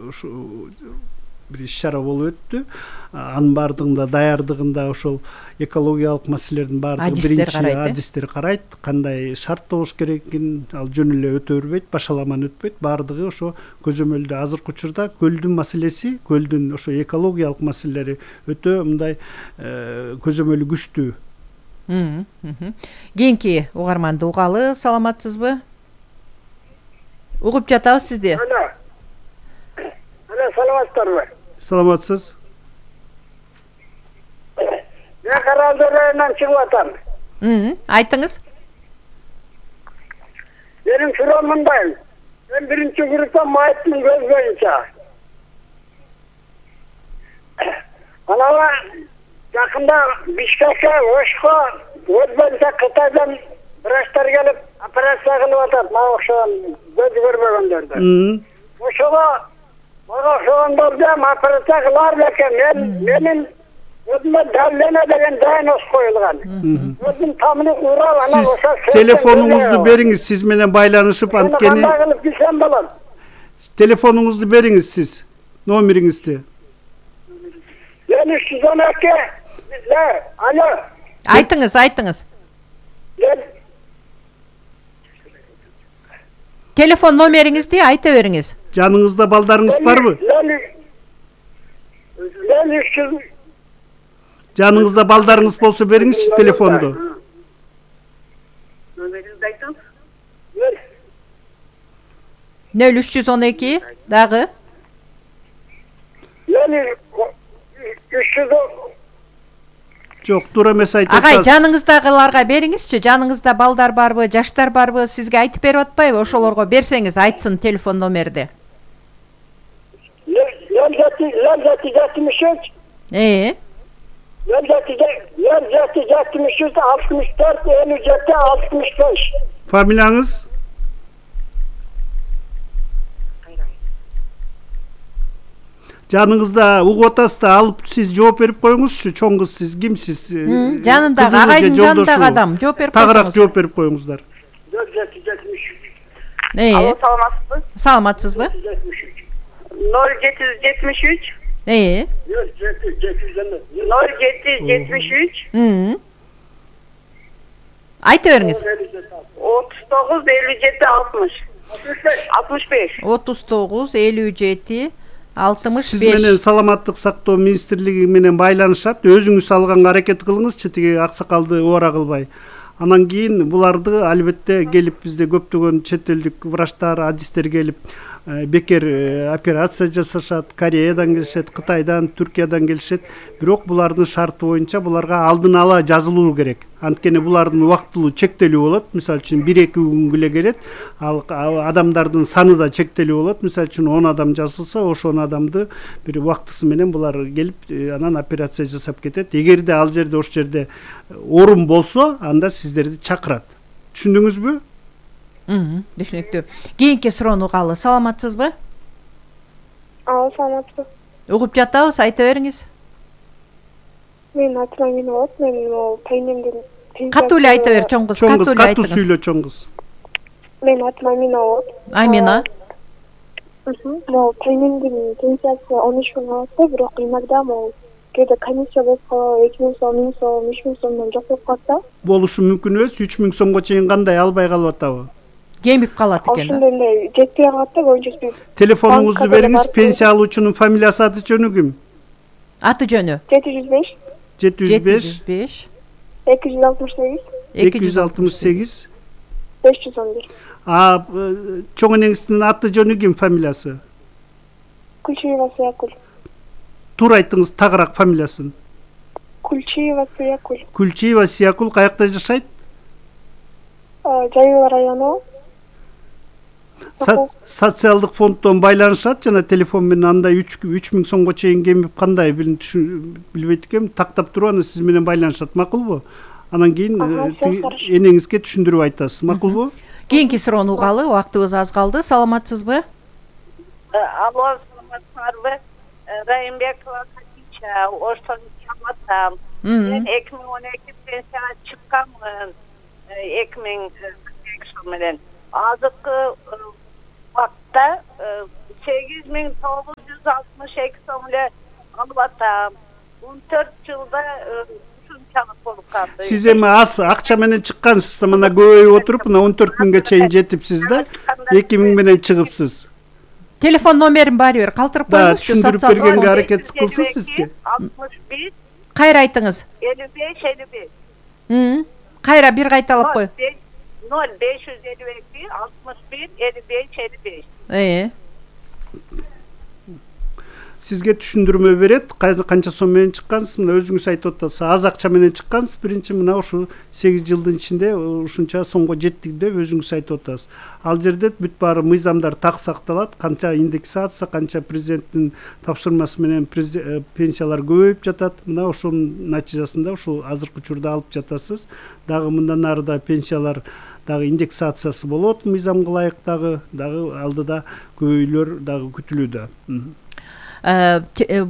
ушу бир иш-чара болуп өттү. Анын баардыгында даярдыгында ошол экологиялык маселелердин баардыгы биринчи адистер карайт, кандай шарт болуш керекин, ал жөн эле өтө бербейт, башаламан өтпөйт, баардыгы ошо көзөмөлдө. Азыркы учурда көлдүн маселеси, көлдүн ошо экологиялык маселелери өтө мындай көзөмөлү күчтүү. Кийинки угарманды угалы, саламатсызбы? Угуп жатабыз сизди. Саламатсыздарбы? Саламатсыз. Мен Каралды районунан чыгып атам. Айтыңыз. Менин суроом мындай. Мен биринчи группа майыттын көз боюнча. Анала жакында Бишкекке, Ошко, көз боюнча Кытайдан врачтар келип операция кылып атат. Мага окшогон көз көрбөгөндөрдү. Ошого мага окшогондорду операция кылар экен. Менин өзүмө даллена деген диагноз коюлган. Өзүм тамыры урал, ана ошо. Сиз телефонуңузду бериңиз, сиз менен байланышып анткени. Кандай кылып билсем болот? Телефонуңузду бериңиз сиз, номериңизди. 312. Алло. Айтыңыз. Телефон номериңизди айта бериңиз. Жаныңызда балдарыңыз барбы? Жаныңызда балдарыңыз болсо бериңизчи телефонду. Номеринизди айтыңыз. 0312 дагы. 300. Жок, туура эмес айтып Агай, жаныңыздагыларга бериңизчи. Жаныңызда балдар барбы, жаштар барбы? Сизге айтып берип атпайбы? Ошолорго берсеңиз айтсын телефон номерди. 0763. 65. Фамилияңыз? Жаныңызда угуп атасыз да алып сиз жооп берип коюңузчу. Чоң кыз сиз кимсиз? Жанындагы агайдын жанындагы адам жооп берип коюңуз. Тагыраак жооп берип коюңуздар. 0773. Алло, саламатсызбы? Саламатсызбы? 0773. 0773. Айта бериңиз. 39 57 60. 65. 39 57 65. Сиз менен саламаттык сактоо министрлиги менен байланышат. Өзүңүз алганга аракет кылыңызчы, тиги аксакалды убара кылбай. Анан кийин буларды албетте келип бизде көптөгөн чет элдик врачтар, адистер келип бекер операция жасашат. Кореядан келишет, Кытайдан, Түркиядан келишет. Бирок булардын шарты боюнча буларга алдын ала жазылуу керек. Анткени булардын убактылуу чектелүү болот. Мисалы үчүн 1-2 күнгө эле келет. Ал адамдардын саны да чектелүү болот. Мисалы үчүн 10 адам жазылса, ошол адамды бир убактысы менен булар келип анан операция жасап кетет. Эгерде ал жерде ошол жерде орун болсо, анда сиздерди чакырат. Түшүндүңүзбү? Түшүнүктүү. Кийинки суроону угалы. Саламатсызбы? Саламатсызбы. Угуп жатабыз, айта бериңиз. Мен атым Амина болот. Мен тайнемден катуу эле айта бер, чоң кыз. Катуу сүйлө, чоң кыз. Мен атым Амина болот. Амина. Тайнемдин пенсиясы 13 миң алат, бирок иногда кээде комиссия болуп калып 2 миң сом, 1000 сом, 3000 сомдон жок болуп калса. Болушу мүмкүн эмес. 3000 сомго чейин кандай албай калып атабы? Кемип калат экен. Ошондой жетпей калат да, көбүнчөсү. Телефонуңузду бериңиз. Пенсия алуучунун фамилиясы, аты жөнү ким? Аты жөнү? 705. 705. 268. 268. 511. Чоң энеңиздин аты жөнү ким, фамилиясы? Кульчиева Сыякуль. Туура айтыңыз, тагыраак фамилиясын. Кульчиева Сыякуль. Кульчиева Сыякуль каякта жашайт? Жайыл району. Социалдык фонддон байланышат жана телефон менен андай 3000 сомго чейин кемип кандай билбейт экенмин. Тактап туруп аны сиз менен байланышат, макулбу? Анан кийин энеңизге түшүндүрүп айтасыз, макулбу? Кийинки суроону угалы, убактыбыз аз калды. Саламатсызбы? Алло, саламатсызбы? Райымбекова Хадича, Оштон чалатам. Мен 2012 пенсияга чыкканмын. 2000 жыл менен. Азыркы убакытта да 8962 сом эле алып атам. 14 жылда ушунчалык болуп калды. Сиз эми аз акча менен чыккансыз, мына көбөйүп отуруп мына 14 миңге чейин жетипсиз да. 2 миң менен чыгыпсыз. Телефон номерин баары бир калтырып Да, коюңузчу. түшүндүрүп бергенге аракет кылсын сизге. 61 Кайра айтыңыз. 55. Кайра бир кайталап кой. 0552 61 55. Сизге түшүндүрмө берет. Канча сом менен чыккансыз? Мына өзүңүз айтып атасыз. Аз акча менен чыккансыз. Биринчи мына ушу 8 жылдын ичинде ушунча сомго жеттик деп өзүңүз айтып атасыз. Ал жерде бүт баары мыйзамдар так сакталат. Канча индексация, канча президенттин тапшырмасы менен пенсиялар көбөйүп жатат. Мына ошонун натыйжасында ушул азыркы учурда алып жатасыз. Дагы мындан ары да пенсиялар дагы индексациясы болот, мыйзамга ылайык дагы алдыда көбөйлөр дагы күтүлүүдө.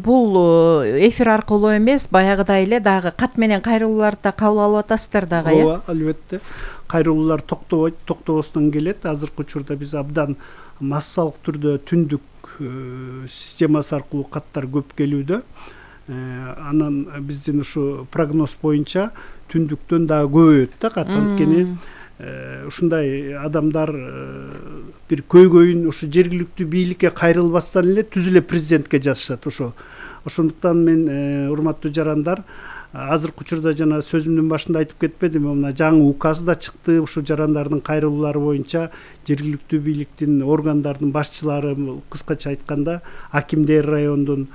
Бул эфир аркылуу эмес, баягыдай эле дагы кат менен кайрылууларды да кабыл алып атасыздар дагы, э? Ооба, албетте. Кайрылуулар токтобойт, токтобостон келет. Азыркы учурда биз абдан массалык түрдө түндүк системасы аркылуу каттар көп келүүдө. Анан биздин ушу прогноз боюнча түндүктөн дагы көбөйөт да кат. Анткени ушундай адамдар бир көйгөйүн ушу жергиликтүү бийликке кайрылбастан эле түз эле президентке жазышат ошо. Ошондуктан мен урматтуу жарандар, азыркы учурда жана сөзүмдүн башында айтып кетпедимби, мына жаңы указ да чыкты. Ушу жарандардын кайрылуулары боюнча жергиликтүү бийликтин органдардын башчылары, кыскача айтканда акимдер, райондун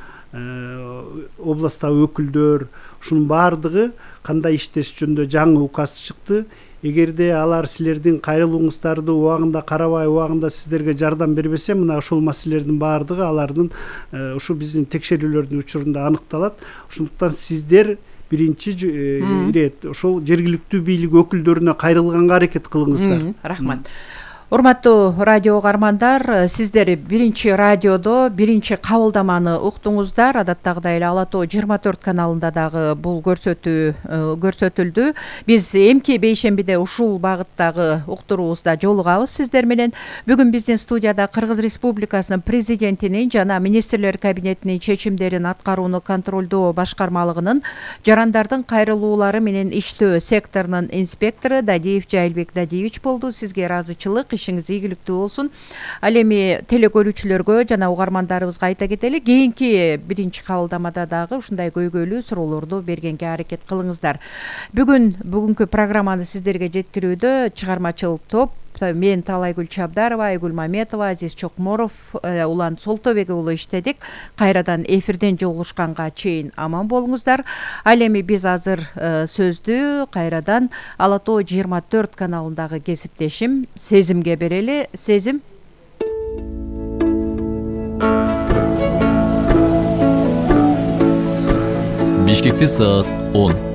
областтагы өкүлдөр, ушунун баардыгы кандай иштеш жөнүндө жаңы указ чыкты. Эгерде алар силердин кайрылууңуздарды убагында карабай, убагында сиздерге жардам бербесе, мына ошол маселелердин баардыгы алардын ушу биздин текшерүүлөрдүн учурунда аныкталат. Ошондуктан сиздер биринчи ирет ошол жергиликтүү бийлик өкүлдөрүнө кайрылганга аракет кылыңыздар. Рахмат. Урматтуу радио угармандар, сиздер биринчи радиодо биринчи кабылдаманы уктуңуздар. Адаттагыдай эле Ала Тоо 24 каналында дагы бул көрсөтүлдү. Биз эмки бейшембиде ушул багыттагы уктуруубузда жолугабыз сиздер менен. Бүгүн биздин студияда Кыргыз Республикасынын президентинин жана министрлер кабинетинин чечимдерин аткарууну контролдоо башкармалыгынын жарандардын кайрылуулары менен иштөө секторунун инспектору Дадиев Жайылбек Дадиевич болду. Сизге ыраазычылык, ишиңиз ийгиликтүү болсун. Ал эми телекөрүүчүлөргө жана угармандарыбызга айта кетели, кийинки биринчи кабылдамада дагы ушундай көйгөйлүү суроолорду бергенге аракет кылыңыздар. Бүгүнкү программаны сиздерге жеткирүүдө чыгармачыл топ мен Талайгүл Чабдарова, Айгүл Маметова, Азиз Чокморов, Улан Солтобек уулу иштедик. Кайрадан эфирден жолугушканга чейин аман болуңуздар. Ал эми биз азыр сөздү кайрадан Ала Тоо 24 каналындагы кесиптешим Сезимге берели. Сезим. Бишкекте саат 10.